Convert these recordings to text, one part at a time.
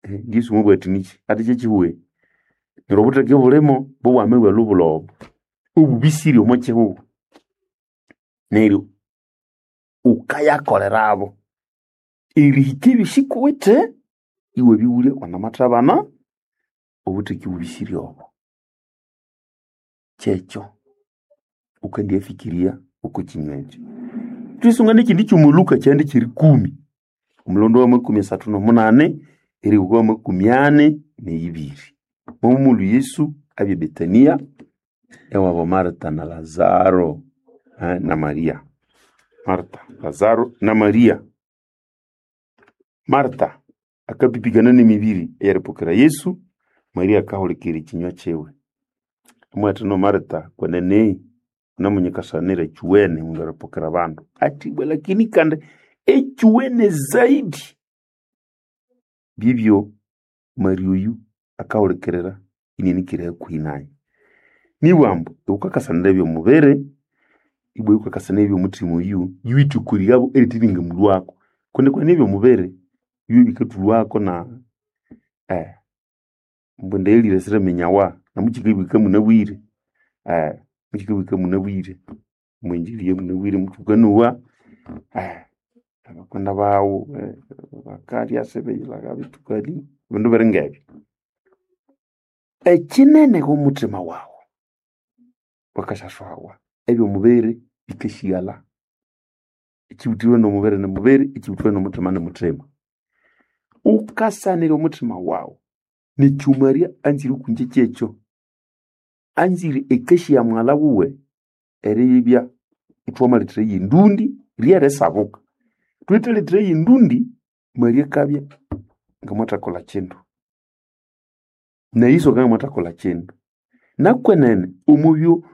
Yesu mwabugha ati niki? Ati kyekihuwe. Neryo obutheke obulimo bobwame bwelubula obo obubisire omo kihugho. Neryo wukayakolerabo erihika ebyosi kuwithe iwabighulya wanamathabana obutheke obubisire obo. Kyekyo wukandyafikirya oko kinywa ekyo. Thwisunga nekindi kyuma Luka kyihanda kyerikumi, omulondo wamakumi asathu nomunani erihika wamakumi ani neyibiri. Momulhu Yesu abya eBetania ewabo Marita na Lazaro na Maria. Marita, Lazaro na Maria. Marita akapipikana nemibiri eyeripokera Yesu, Maria akahulikirira ekinywa kiwe. Amubwira no Marita kwenene wunamunyikasanira ekyuwene mundu eripokera abandu. Ati ibwa lakini kandi ekyuwene zaidi bibyo Maria oyu akahulikirira inianikire hakuhi nayu. Nibwa ambu iwukakasanira ebyomubiri ibwa iwukakasanira ebyomuthima oyu yuwithukuryabo erithibinga mulhwako kundi kwenene ebyomubiri byo bikathulhwako na ambu endaghalire siriminyawa namukikabwika munabwire mukikabwika munabwire omwinjili munabwire muthukanowa abakwenda baghu bakalya sibeyilhaga bithukani ebindu biri ngebyo. Ekinene ghomuthima waghu wakasyaswawa ebyomubiri bikasighalha ekyibuthiwe nomubiri nimubiri ekyibuthiwe nomuthima nimuthima. Wukasanira omuthima waghu nekyo Maria anzire okwingye kyekyo. Anzire ekasi ya mughalha wuwe eribya ithwamalethera yendundi ryerisabuka. Thwithalethera yendundi Maria akabya ngamwathakolha kindu na Yesu akabya ngamwathakolha kindu. Nakwenene omubyo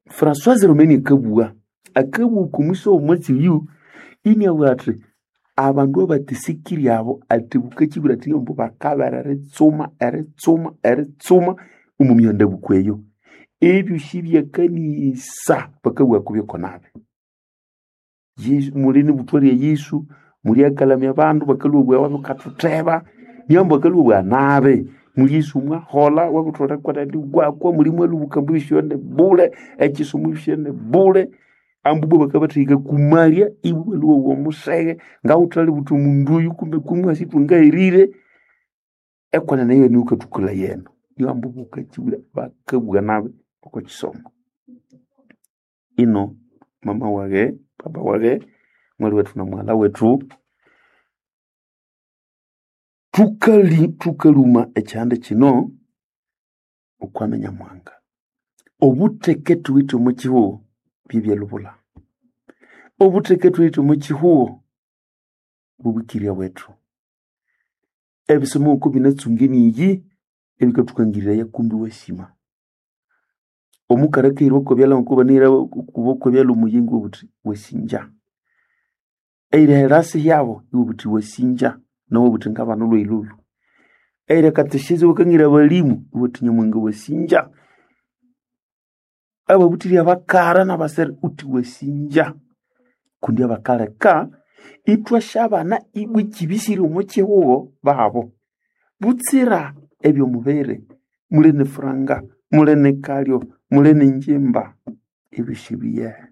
François Romani akabugha, akabugha oko mwisi womwatsi oyu iniabugha athi abandu abathisikirye abo athi bukakibwira athi ambu bakabera eritsuma eritsuma eritsuma omo mihandabuko eyo. Ebyosi byakanisa bakabugha kubyoko nabi. Yesu muli nibuthwa rya Yesu mulyakalhamya abandu bakalhwa obugha bukathutheba niambu bakalhwa obugha nabi. Muli Yesu mwaholha wabutholere wakwa muli mwalhubuka ambu ebyosi ni bule ekisomo ebyosi ni bule ambu ibwa bakabathahika kumalya ibwa ibalhwa obugha omuseghe ngawuthalibutha omundu oyu kumbe kumwasi ithwangaherire ekwenene eyo niyo wukathukalhaya eno. Niyo ambu bukakibwira bakabugha nabi oko kisomo. Ino mama waghe, papa waghe, mwali wethu na mughalha wethu thukali thukalhuma ekyihanda kino okwami Nyamuhanga. Obutheke thuwithe omo kihugho byebyalubulha. Obutheke thuwithe omo kihugho bubukirya bwethu. Ebisomo ngoko binatsunga emiyi ebikathukangiraya kumbi iwasima. Omukali akahira okwabyalha ngoko banahira okwabyalha omuyingo iwabugha wuthi wasinja. Eyiri erasi yabo iwabugha wuthi wasinja nawu iwabugha wuthi ngabana olhwayilholho. Eyiri ekateshezi iwakangira abalimu iwabugha wuthi Nyamuhanga wasinja. Ababuthire abakara nabasere wuthi wasinja kundi abakaleka ithwasyabana ibwa ekyibisire omo kihugho babo. Butsira ebyomubiri muli nefuranga, muli nekalyo, muli nengyimba ebyosi biyehe.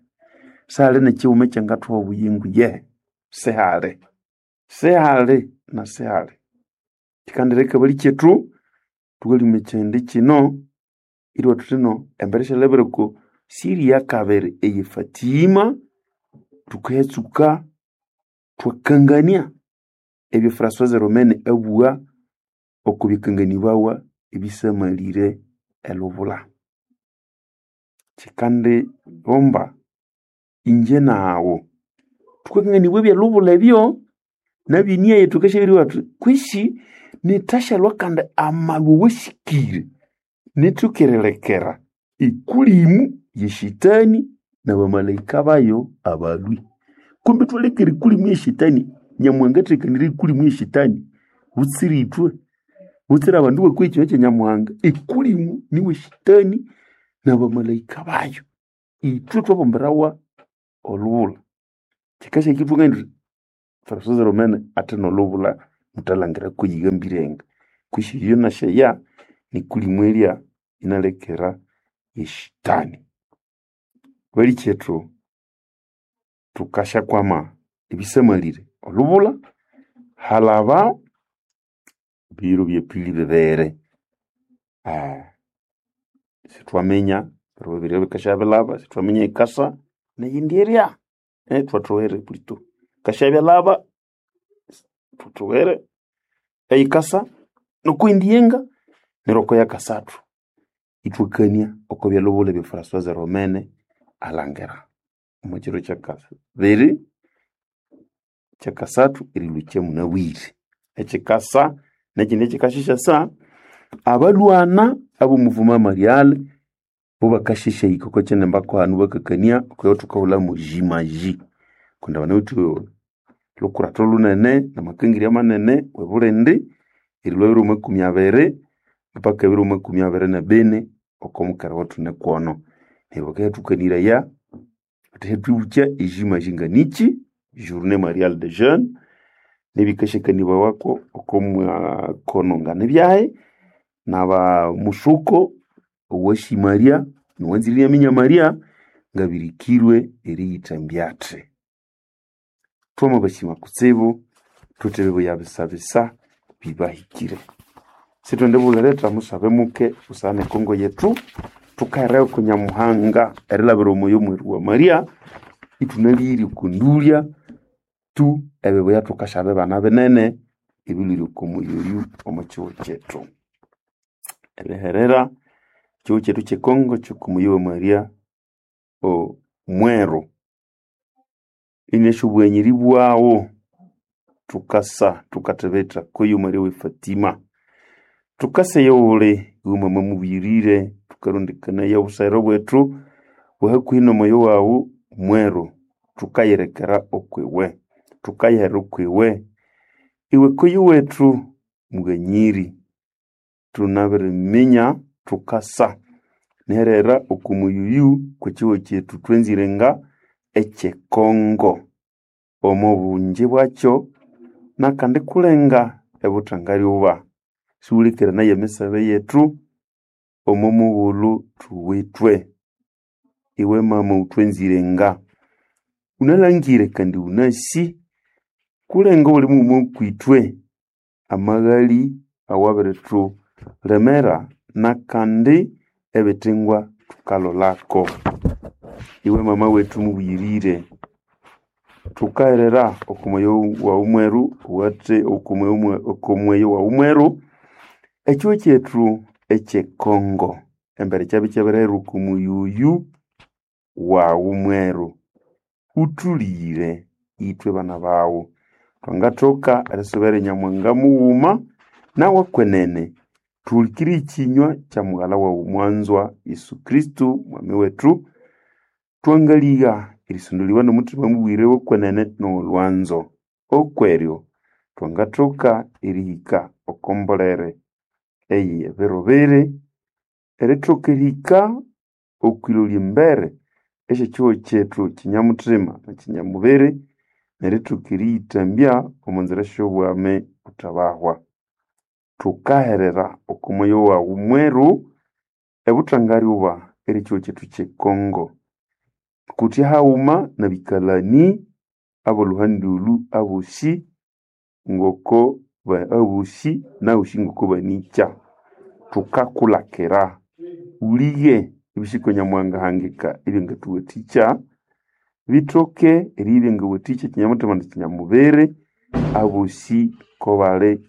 Sihali nekighuma ekyangathuha obuyingo yehe sihali, sihali na sihali. Kyikandireka abalikyetu thukalhuma ekyihindi kino iriwa thuthino embere syalhabira oko siri yakabiri eye Fatima thukayatsuka thwakangania ebyo François Romene abugha oko bikanganibawa ebisamalire elubula. Kyikandigomba ingye naghu thukakanganibwa ebyelubula ebyo nabyo enia thukasyabiribugha thuthi kwisi nithasyalhwa kandi amalhwa awasikire nithukirilekera ekulimu yeshetani nabamalaika bayo abalhwi. Kumbi ithwalekera ekulimu yeshetani Nyamuhanga athekanirye ekulimu yeshetani butsira ithwe butsira abandu bakwa ekinywa kya Nyamuhanga. Ekulimu niwe shetani nabamalaika bayo. Ithwe thwabumbirawa olubulha. Kyikasyakithunga indi François Romene athina olubulha muthalhangira kuyigambirenga. Kwihi iyo nasyeya nikulimwerya inalekera eshitani. Balikyetu tukasyakwama ebisamalire olubula halaba biro byepili bibiri. Sithwaminya biro bibiri bikasyabilaba, sithwaminya ikasa neyindi erya. Thwathoere plutôt. Yikasyabyalaba thuthoere eyikasa nokwindi yenga neryo oko yakasathu ithwakania oko byalubula ebya Françoise Romene alhangira omo kiro kyakabiri kyakasathu erilhukya munabwire. Ekyikasa nekyindi ekyikasyasyasa abalhwana ab'omuvuma Mariale bo bakasyasyahika oko kyinimba kwahanu bakakania okwa thukahulhamu jimaji kundi banawithe lhukuratho lhunene namakangirya manene w'ebulindi erilhwa 2020 mpaka 2024 oko mukera wathune kwono. Neryo bakayathukaniraya bathasyathwibukya ejimaji nganikyi journée mariale de jeunes nebikasyakanibawako oko mwakono nganibyahi n'abamusuko owashimarya nowanzire inaminya Maria ngabirikirwe eriyithambya athi. Twamabasima kutsibu thuthi ebibuya bisabisa bibahikire. Sithwendibulhiretha musabe muke busana ekongo yethu thukahererayo oko Nyamuhanga erilhabira omwoyo mweru wa Maria ithunalire oko ndulya tu ebibuya thukasyaba bana binene ebilhwire oko muyi oyu omo kihugho kyethu. Eriherera ekihugho kyethu kyekongo kyoko muyi wa Maria omweru inasya obughanyiri bwaghu thukasa thukathibitha kuyu Maria we Fatima. Thukasa eyoghuli iwe mama mubuyirire thukarondekania obusayiro bwethu bwa hakuhi n'omoyo waghu mweru thukayirekera okwiwe thukayihera okwiwe. Iwe kuyu wethu mughanyiri thunabiriminya thukasa niherera oko muyuyu kw'ekihugho kyethu thwanzire nga ekyekongo omo bungi bwakyo nakandi kulenga ebuthangalyoba. Siwulekerenaye emisabe yethu omo mughulhu thuwithwe. Iwe mama wuthwanzire nga wunalhangire kandi wunasi kulenga obuli mughuma okwithwe amaghali awabirithulemera nakandi ebithingwa thukalholako. Iwe mama wethu mubuyirire thukaherera oko mwoyo waghu mweru owathe oko mwoyo waghu mweru ekihugho kyethu ekyekongo embere kyabya ikyabirihera oko muyuyu waghu mweru. Wuthulighire ithwe bana baghu thwangathoka erisubira Nyamuhanga mughuma nawe kwenene thuhulikirye ekinywa kya mughalha waghu mwanzwa Yesu Kristo mwami wethu thwangaligha erisondoliwa n'omuthima mubwire w'okwenene n'ow'olhwanzo. Okweryo thwangathoka erihika oko mbolere ey'ebiro biri erithoka erihika okwilolya embere esy'ekihugho kyethu kinyamuthima na kinyamubiri nerithoka eriyithambya omo nzira sy'obwami buthabahwa. Thukaherera oko mwoyo waghu mweru ebuthangalyoba eri ekihugho kyethu kyekongo kuthya haghuma n'abikalani ab'olhuhandi olhu abosi ngoko abosi nahosi ngoko banikya. Thukakulhakira wulighe ebisiko Nyamuhanga ahangika ebyangathuwathikya bithoke eribya ebyangawathikya kinyamuthima na kinyamubiri abosi kobali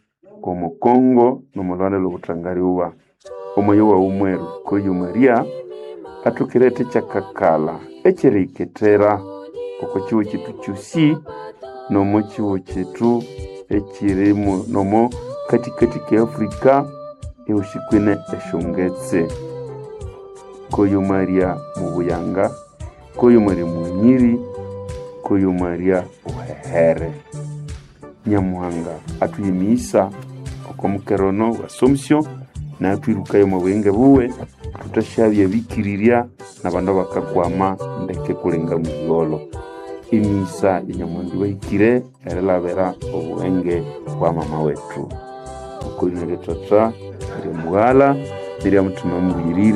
omo Kongo n'omo lhuhandi lw'obuthangalyoba. Omwoyo waghu mweru koyo Maria athoke eriletha ekyakakalha ekyeriyikethera oko kihugho kyethu kyosi n'omo kihugho kyethu ekyirimu n'omo kathikathi ke Afrika ehosi kwine esyongetse. Koyo Maria mubuyanga, koyo Maria mughanyiri, koyo Maria wuhehere. Nyamuhanga athuhe emighisa oko mukera ono wa Assumption nathwirukayo omo buyingo buwe thuthasyabya bikirirya n'abandu abakakwama ndeke kulenga mugholo. Emighisa ya Nyamuhanga ibahikire erilabira obughenge bwa mama wethu. Okw'erina lya Tata, nerya Mughala, nerya Mutima Mubuyirire.